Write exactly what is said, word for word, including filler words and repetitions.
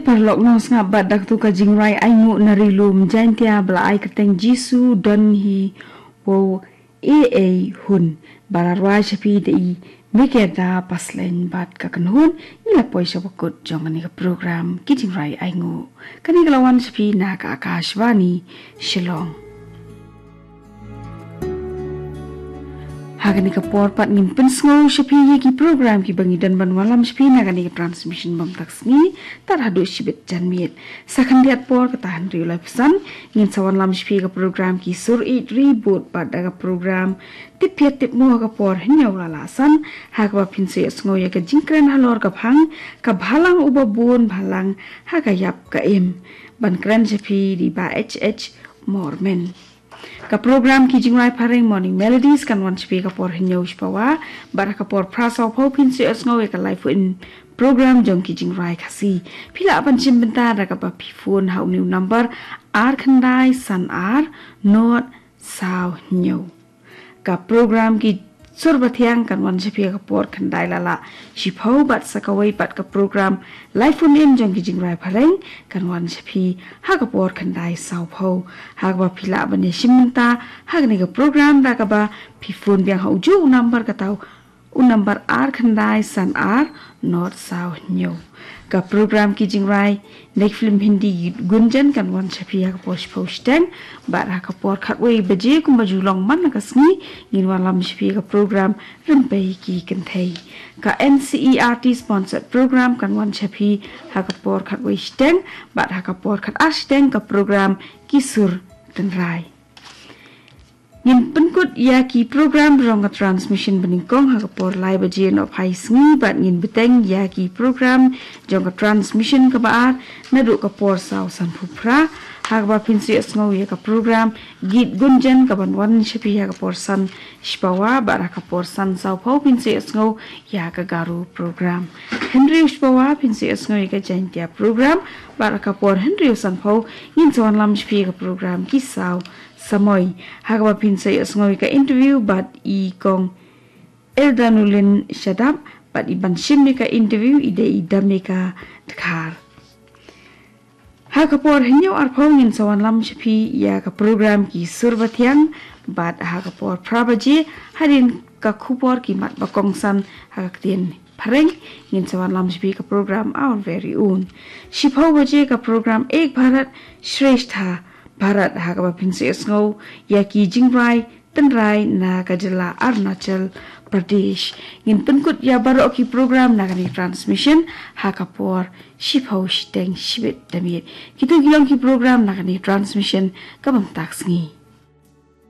Paralok, nong sngap bad da katu ka jingrwai ainguh na ri lum Jaintia ba la ai kyrteng Jisu Don Hi Wow A A Hun, ba la rwai sha phi da i Mekeda Paslein bad ka kynhun. Ngi la poi sha bakut jong kane ka program ki jingrwai ainguh. Kane ka la wan sha phi na ka Akashvani Shillong. Ha kane ka por pat ngin pynsngew sha phi ïa ki program kiba ngi don ban wallam sha phi na kane ka transmission bym tak sngi, tad haduh shibit janmiet. Sa khyndiat por kata hynriew laiphew san, ngin sa wanlam sha phi ka program Ki Sur Ïeit Ri Bud bad da ka program Tip Phiat Tip Mo ha ka por hynñiew la lah san, ha kaba phin sa ïohsngew ïa ka jingkren halor ka phang Ka Bhalang Uba Bun Bhalang ha ka Ïap ka Im. Ban kren sha phi da i Bah H H Mormen. Ka program Ki Jingrwai Phareng Morning Melodies kan wan sha phi ka por hynñiew shipawa, bad ha ka por phra sawphew phin sa ïohsngew ïa ka live phone in program jong ki jingrwai Khasi. Phi lah ban shim bynta da kaba phi phone ha une u number ar khyndai san ar nod saw hynñiew. Ka program Ki Sur Bathiang kan wan sha phi ha ka por khyndai la lah shiphew, bad sa kawei pat ka program live phone in jong ki jingrwai phareng kan wan sha phi ha ka por khyndai sawphew. Ha kaba phi lah ban ïa shim bynta ha kane ka program da kaba phi phone biang ha ujuh u number, kata u number ar khyndai san ar nod saw hynñiew. Ka program Ki Jingrwai na ki film Hindi Gunjan kan wan sha phi ha ka por shiphew shiteng, bad ha ka por khatwei baje kumba ju long man la ka sngi, ngin wanlam sha phi ka program Rympei Ki Kynthei. Ka N C E R T sponsored program kan wan sha phi ha ka por khatwei shiteng, bad ha ka por khatar shiteng ka program Ki Sur Tynrai. Ngin pynkut ïa ki program jong ka transmission banyngkong ha ka por lai baje nohphai sngi, bad ngin bteng ïa ki program jong ka transmission kaba ar naduh ka por saw sanphew phra, ha kaba phin sa ïohsngew ïa ka program Geet Gunjan kaban wan sha phi ha ka por san shipawa, bad ha ka por san sawphew phin sa ïohsngew ïa ka Garo program. Hynriew shipawa phin sa ïohsngew ïa ka Jaintia program, bad ha ka por hynriew sanphew ngin sa wanlam sha phi ïa ka program Ki Saw Samoi, ha kaba phin sa ïohsngew ïa ka interview bad i Kong Eldanulin Shadap, bad i ban shim ïa ka interview i dei i Damika Dkhar. Ha ka por hynñiew arphew ngin sa wanlam sha phi ïa ka program Ki Sur Bathiang, bad ha ka por phra baje hadien ka khubor ki mat ba kongsan ha ka ktien phareng, ngin sa wanlam sha phi ka program Our Very Own. Shiphew baje ka program Ek Bharat Shreshtha Bharat, ha kaba phin sa ïohsngew ïa ki jingrwai tynrai na ka jylla Arunachal Pradesh. Ngin pynkut ïa baroh ki program na kane transmission ha ka por shiphew shiteng shibit da miet. Kito ki long ki program na kane transmission ka bym tak sngi.